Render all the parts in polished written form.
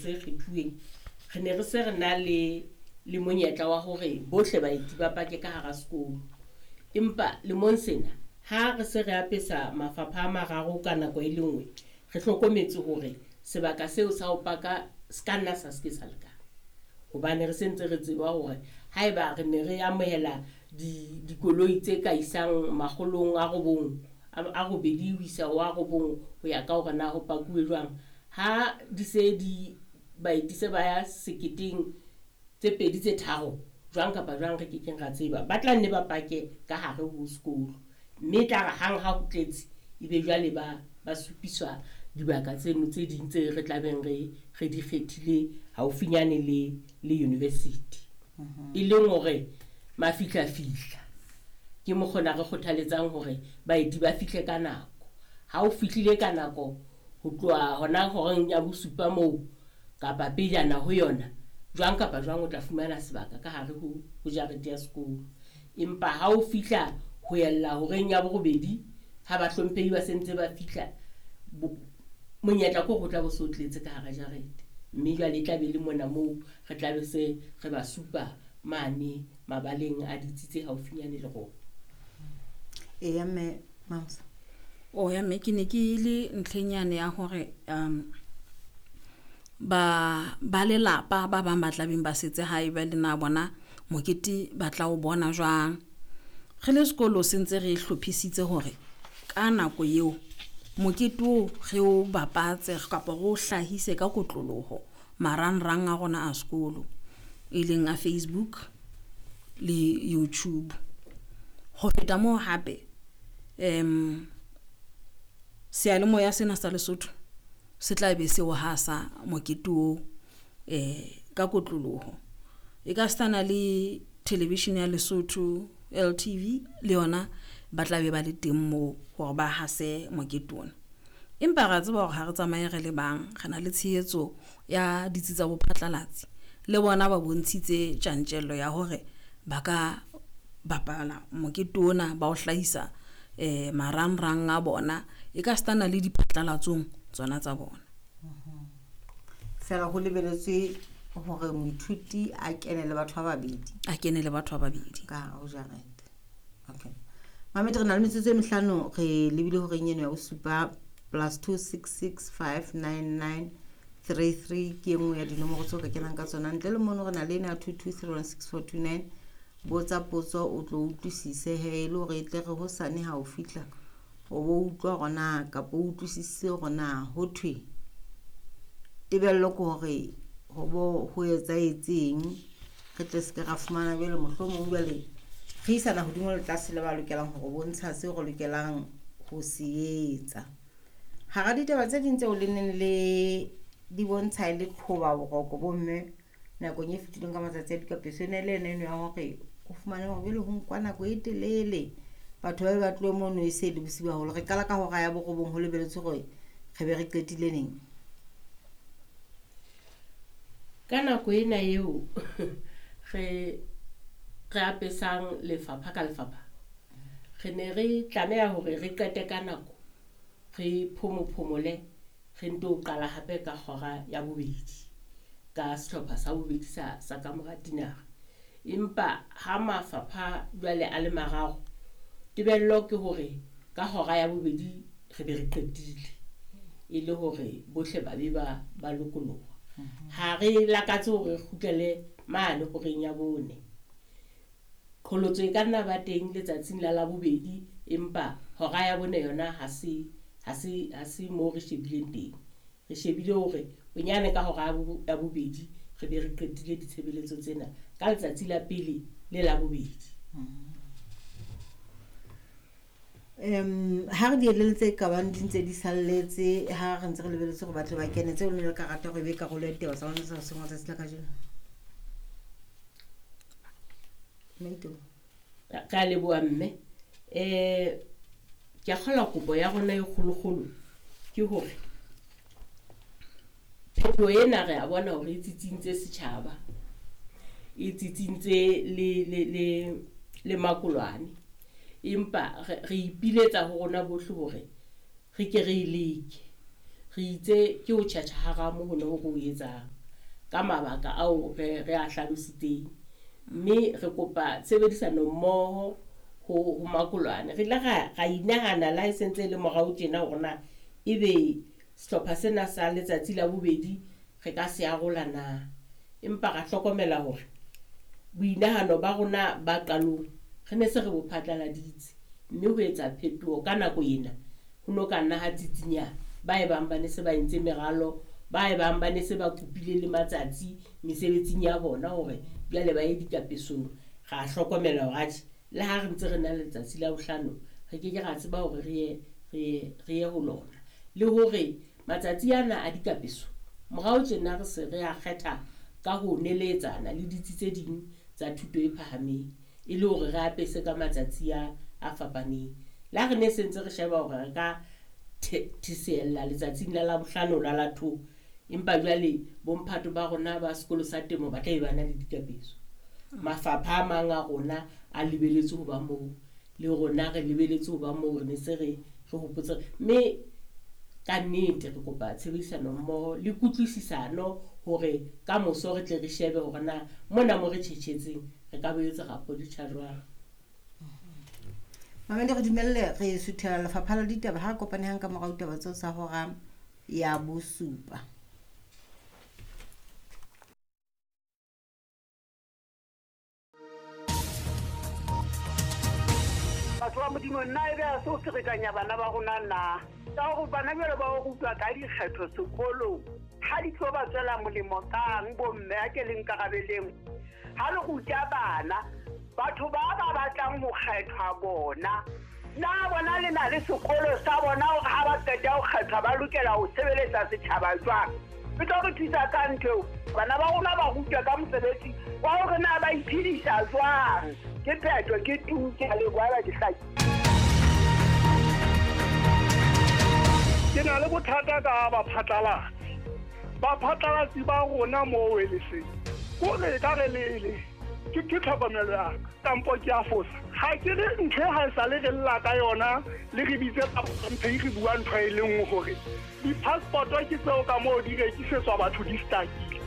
tse kgethuweng, re ne re se re na le monyetla wa hore bohle baeti ba pake ka hara sekolo. Empa lemong sena ha re se re apesa mafapha a mararo ka nako e le nngwe, re hlokometse hore sebaka seo sa ho paka se ka nna sa se ke sa lekana. Hobane re sentse re tseba hore haeba re ne re amohela dikoloi tse ka isang makgolong a robong, a robedi ho isa ho a robong ho ya ka hore na ho pakuwe jwang. Ha di se di baeti se ba ya seketeng tse pedi tse tharo, jwang kapa jwang re kekeng ra tseba. Ba tla nne ba pake ka hare ho sekolo. Mme e tla re hang ha ho tletse, ebe jwale ba supiswa dibaka tseno tse ding tse re tlabeng re di kgethile haufinyane le university. E leng hore mafihlafihla ke mokgona re kgothaletsang hore baeti ba fihle ka nako. Ha o fihlile ka nako ho tloha hona horeng ya bosupa moo kapa pejana ho yona, jwang kapa jwang o tla fumana sebaka ka hare ho jarete ya sekolo. Empa ha o fihla ho ella horeng ya borobedi, ha bahlomphehi ba sentse ba fihla, monyetla ke hore o tla bo so tletse ka hara jarete. Mme jwale e tla be le mona moo re tla be se re ba supa mane mabaleng a ditsi tse haufinyane le rona. Eya mme Mamsa. O ya mme ke ne ke le ntlheng yane ya hore ba lelapa ba bang ba tlabeng ba setse hae ba le na bona mokete ba tla o bona jwang. Re le sekolo se ntse re hlophisitse hore ka nako eo mokete oo re o bapatse kapa re o hlahise ka kotloloho marangrang a rona a sekolo, e leng a Facebook le YouTube. Ho feta moo hape, seyalemoya sena sa Lesotho se tla be se o hasa mokete oo ka kotloloho. E ka sitana le television ya Lesotho LTV le yona ba tla be ba le teng moo hore ba hase mokete ona. Empa ra tseba hore ha re tsamaye re le bang, re na le tshehetso ya ditsi tsa bophatlalatsi. Le bona ba bontshitse tjantjello ya hore ba ka bapala mokete ona ba o hlahisa marangrang a bona, e ka sitana le diphatlalatsong tsona tsa bona. Feela ho lebeletswe hore moithuti a kene le batho ba babedi. A kene le batho ba babedi. Ka hare ho jarete. Okay. Mamedi, re na le metsotso e mehlano, re lebile horeng eno ya bosupa +266 599 33 ke e nngwe ya dinomoro tseo ka kenang ka tsona. Ntle le mono re na le ena ya 22316429. Botsa potso o tlo utlwisise he, e le hore e tle re hosane ha o fihla o bo utlwa hore na kapa o utlwisise hore na ho thwe tebello ke hore ho bo ho etsahetseng, re tle se ke ra fumana jwale mohlomong jwale re isana hodimo le tlase le ba lokelang hore bontsha seo re lokelang ho se etsa. Hara ditaba tse ding tseo le neng le di bontsha e le qhoba boroko bomme nakong e fetileng ka matsatsi a dikapeso, e ne le ena eno ya hore o fumane hore jwale ho nkwa nako e telele, batho ba be ba tlohe mono e se le bosiu haholo. Re qala ka hora ya borobong ho lebeletswe hore re be re qetile neng? Ka nako ena eo re apesang lefapha ka lefapha, re ne re tlameha hore re qete ka nako, re phomophomole, re nto qala hape ka hora ya bobedi ka sehlopha sa bobedi sa kamora tinara. Empa ha mafapha jwale a le mararo, tebello ke hore ka hora ya bobedi re be re qetile, e le hore bohle ba be ba lokoloha. Ha re lakatse hore re kgutlele mane horeng ya bone. Qholotso e ka nna ba teng letsatsing la Labobedi, empa hora ya bone yona ha se moo re shebileng teng. Re shebile hore bonyane ka hora ya bobedi re be re qetile ditshebeletso tsena ka letsatsi la pele le la bobedi. Ha re di elelletse ka bang di ntse di salletse, ha re ntse re lebeletse hore ba tle ba kene, tseo le ne le ka rata hore e be karolo ya ditaba tsa lona tsa hoseng wa tsatsi la kajeno? Maito. Ka leboha mme. Ke a kgolwa kopo ya rona e kgolokgolo ke hore phetoho ena re a bona hore e tsitsintse setjhaba, e tsitsintse le makolwane. Empa re ipiletsa ho rona bohle hore re ke re e leke. Re itse ke ho tjhatjha haramo ho ne ho re o etsang ka mabaka ao re a hlalositseng. Mme re kopa tshebedisano mmoho ho makolwane. Re ile ra inahana la e sentse le morao tjena hore na ebe sehlopha sena sa letsatsi la bobedi re ka se arola na. Empa ra hlokomela hore boinahano ba rona ba qalong re ne se re bo phatlaladitse, mme ho etsa phetoho ka nako ena ho no ka nna ha tsitsinya ba e bang ba ne se ba entse meralo, ba e bang ba ne se ba kopile le matsatsi mesebetsing ya bona hore jwale ba ye dikapesong. Ra hlokomela hore atjhe le ha re ntse re na le letsatsi la bohlano re ke ke ra tseba hore re ye ho lona. Le hore matsatsi ana a dikapeso morao tjena re se re a kgetha ka ho neletsana le ditsi tse ding tsa thuto e phahameng e le hore re apese ka matsatsi a fapaneng. Le ha re ne se ntse re sheba hore re ka thesella letsatsing la Labohlano la la 2, empa jwale bomphato ba rona ba sekolo sa temo ba tla be ba na le dikapeso. Mafapha a mang a rona a lebeletse ho ba moo, le rona re lebeletse ho ba moo, re ne se re hopotse. Mme ka nnete re kopa tshebedisano mmoho le kutlwisisano hore ka moso re tle re shebe hore na mona mo re tjhetjhetseng re ka boetse ra politjha jwang. Mamedi, re dumelle re suthela lefapha la ditaba ha kopane hang ka morao ditaba tseo tsa hora ya 7. Batho ba Modimo, nna ebe a se o ferekanya bana ba rona na? Ka hore bana jwale ba o rutwa ka dikgetho sekolong, ha di tlo ba tswela molemo kang bomme a ke le nkarabeleng? Ha le ruta bana, batho ba ba batlang ho kgethwa bona, na bona le na le sekolo sa bona hore ha ba qeta ho kgethwa ba lokela ho sebeletsa setjhaba jwang? E tlo re thusa ka ntho eo. Bana ba rona ba rutwa ka mosebetsi wa hore na ba iphedisa jwang. Ke phetho, ke tu, ke a leboha ba ke hlaki. Ke na le bothata ka baphatlalatsi. Baphatlalatsi ba rona moo eleseng kore ka re lele ke tlhokomelo ya ka, kampo ke a fosa. Ha ke re ntho e ha e sale re lla ka yona, le re bitse mphe re bua ntho e le nngwe hore di-passport ke tseo ka moo di rekisetswa batho di stakile.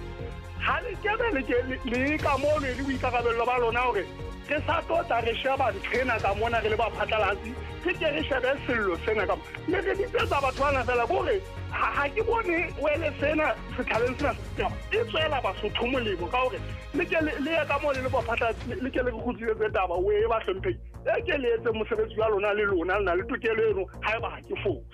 Ha le kebe le ka moo le boikarabello ba lona hore re sa tlo re sheba ntho ena ka mona re le baphatlalatsi, re ke re shebe sello sena ka le re bitsetsa batho bana fela kore ha ke bone wele sena sethaleng sena e tswela Basotho molemo ka hore le ke le ye ka moo le le baphatlalatsi, le ke le re kgutlisetse taba o e ba hlompheng, e ke le etse mosebetsi wa lona le lona le na le tokelo eno haeba ha ke fose.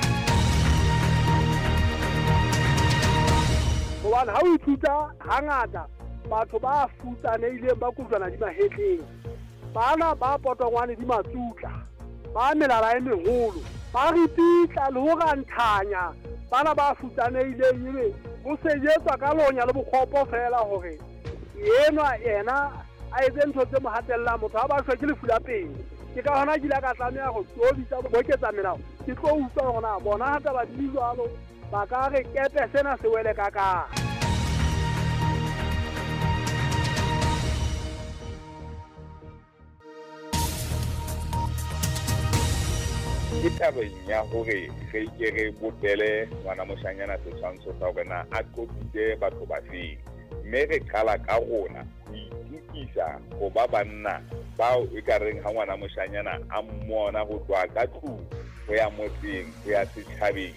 Hobane ha o ithuta hangata batho ba futsanehileng ba kojwana di mahetleng, bana ba potongwane di matsutla, ba melala e meholo, ba ripitla le ho ranthanya bana ba futsanehileng, ebe ho sejetswa ka lonya le bokgopo fela hore enwa ena a etse ntho tse mo hatellang motho ha ba shwe ke lefu la pele. Ke ka hona ke ile ka tlameha ho tlo bitsa boketsa melao, ke tlo utlwa hore na bona ha taba di jwalo ba ka re kepe sena se wele ka kang. Ke tabeng ya hore re ke re bopele ngwana moshanyana setshwantsho sa hore na a qotsitse batho ba feng, mme re qala ka rona ho itukisa ho ba banna bao e ka reng ha ngwana moshanyana a mmona ho tloha ka tlung ho ya motseng ho ya setjhabeng,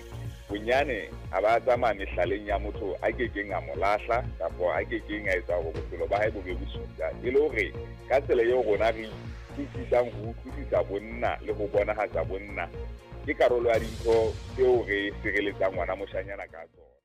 bonyane a ba tsamaya mehlaleng ya motho a kekeng a mo lahla kapa a kekeng a etsa hore bophelo ba hae bo be bosula, e le hore ka tsela eo rona re utlwisisang ho utlwisisa bonna le ho bonahatsa bonna ke karolo ya dintho tseo re sireletsang ngwana moshanyana ka tsona.